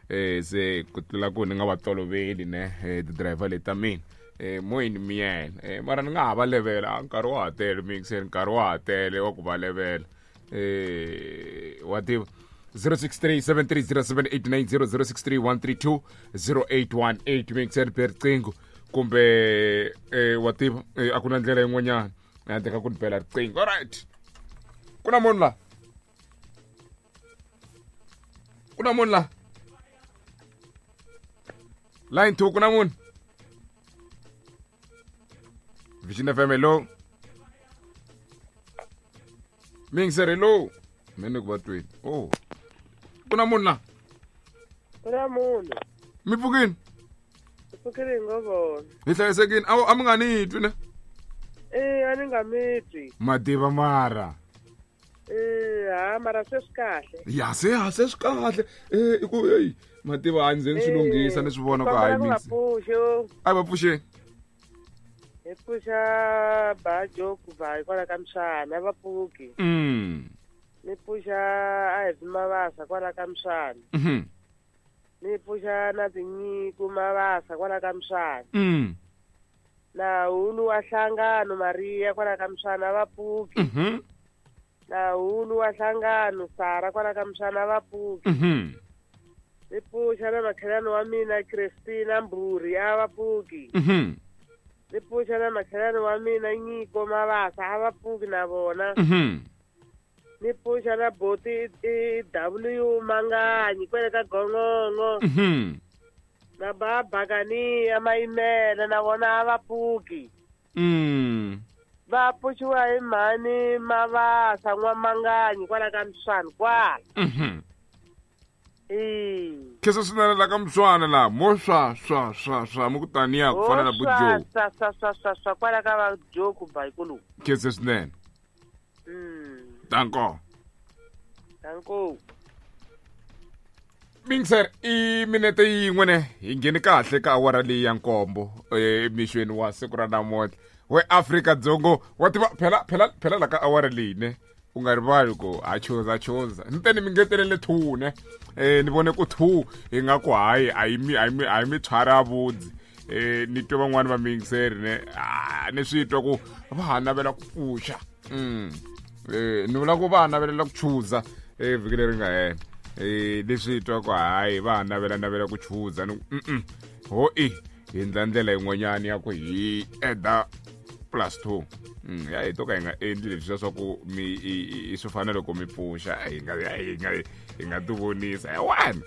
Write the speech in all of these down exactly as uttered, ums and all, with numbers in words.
Eh se ku tlula ku ni nga va toloveli ne eh, ti-driver leti ta mina eh moyeni miyena eh mara ni nga ha va levela nkarhi wa ha tele mixer nkarhi wa ha tele wa ku va levela eh wa tiva zero six three seven three zero seven eight nine zero zero six three one three two zero eight one eight mixer be riqingho kumbe eh wa tiva eh, a ku na ndlela yin'wanyana handle ka ku ni bela riqingho alright ku na munhu la ku na munhu la line two ku na munhu Vision F M hello Mingser hello mina ku va tweni oh ku na munhu la ku na munhu mi pfukini hi pfukile hi ngo vona hi hlayisekini a a mi nga ni twi ne eh a ni nga mi twi mativa mara eh ha mara se swi kahle ya se ha se swi kahle eh i ku hey mativa a ndzi ni swi lunghisa ni swi vona ku hayi mix a va pfuxeni hi pfuxa bajo ku va hikwalaho ka miswana va pfuki mm ni pfuxa a hi mavasa kwala ka miswana mhm ni pfuxa na tinyiko mavasa kwala ka miswana mm na hulu wa hlangano Maria kwala ka miswana va pfuki mhm na hulu wa hlangano Sara kwala ka miswana va pfuki mhm ni pfuxa na makhelwani wa mina Christina Mburi a va pfuki mhm ni pfuxa na makhelwani wa mina Nyiko Mavasa a va pfuki na vona mhm ni pfuxa na boti i W Manganyi kwele ka Gongongo mhm na ba Bakani Mayimela na vona a va pfuki mm va pfuxiwa hi mhani Mavasa n'wamanganyi kwala ka Mswana kwala mhm eh khe swinene la ka Mswana la mo swa swa swa swa mu ku taniya ku fana na bujo swa swa swa swa swa kwala ka va Joe ku bayikulu khe swinene mm danko danko Mingser i minete yin'we ne hi ngheni kahle ka awara leyi ya nkombo emixweni wa siku ra namuntlha we Afrika Dzongo wa tiva phela phela phela la ka awara leyi ne u nga rivali ku ha chuza chuza ni te ni mi ngetelele two ne eh ni vone ku two hi nga ku hayi a yi mi a yi mi a yi mi tshwara vudzi eh ni twa van'wani va Mingser ne ah ni swi twa ku va ha navela ku pfuxa mm eh ni vula ku va ha navelela ku chuza eh vhiki leri nga hela eh leswi twa ku hayi va ha navela navela ku chuza ni mm ho i hi ndla ndlela yin'wanyana ya ku hi eda plus two mm ya hi to ka hi nga endli leswi swa ku mi i swi fana loko mi pfuxa hi nga hi nga hi nga ti vonisa hi one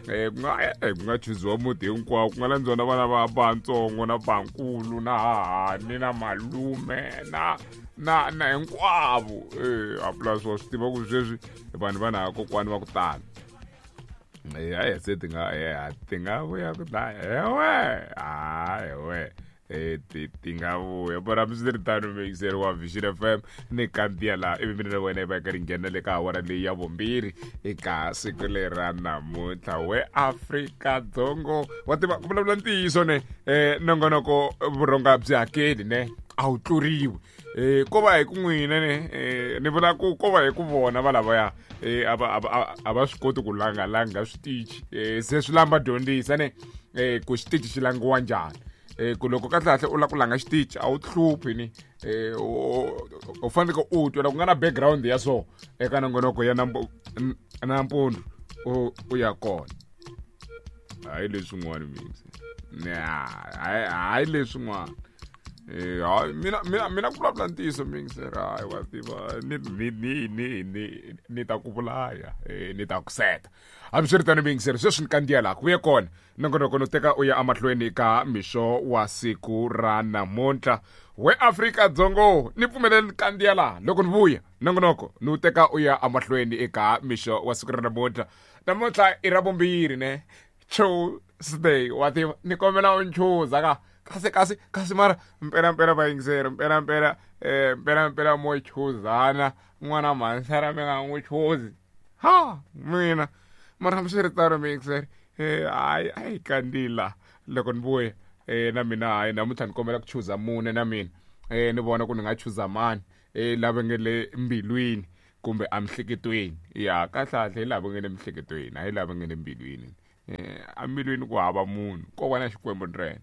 eh ku nga ku nga chuziwa muti hinkwawo ku nga landziwa na vana va vantsongo na vankulu na hahani na malume na na na hinkwavo eh a plus wa swi tiva ku sweswi vanhu va na kokwani va ku tala eh hayi se ti nga eh ti nga vuya ku dlaya ewe hayi we eh ti ti nga vuya mara hambiswiritano mixer wa Vision F M ni kandziya laha ivi mina na wena hi va hi karhi nghena le ka awara leyi ya vumbirhi eka siku leri ra namuntlha we Afrika Dzongo wa tiva ku vulavula ntiyiso ne eh nongonoko vurhonga byi hakeli ne a wu tluriwi eh ko va hi ku n'wina ne eh ni vula ku ko va hi ku vona va lavaya eh a va a va swi koti ku langalanga switichi eh se swi lamba dyondzisa ne eh ku xitichi xi langiwa njhani eh ku loko kahle kahle u la ku langa xitichi a wu hluphi ni eh u fanele u twa ku nga na background ya so eka nongonoko ya nampundzu u u ya kona hayi leswin'wana mina hayi hayi leswin'wana eh hayi mina mina mina ku vulavula ntiyiso mixer hayi wa tiva ni ni ni ni ni ni ta ku vulaya eh ni ta ku seta hambiswiritano mixer sweswi ni kandziya laha ku vuye kona nongonoko no teka u ya emahlweni ka mixo wa siku ra namuntlha we Afrika Dzongo ni pfumeleli ni kandziya laha loko ni vuya nongonoko ni wu teka u ya emahlweni eka mixo wa siku ra namuntlha namuntlha i ra vumbirhi ne Tuesday wa tiva ni kombela u nchuza ka kasi kasi kasi mara mpela mpela vayingiseri mpela mpela eh mpela mpela mo chuzana n'wana mhansara mi nga n'wi chuzi ha mina mara hambiswiritano mixer eh hayi ayi kandzila loko ni vuya eh na mina hayi namuntlha ni kombela ku chuza mune na mina eh ni vona ku ni nga chuza mani eh lava nge le mbilwini kumbe emihleketweni ya kahle kahle hi lava nge le mihleketweni hayi lava nge le mbilwini Eh, amilweni ku hava munhu ko va na Xikwembu ntsena.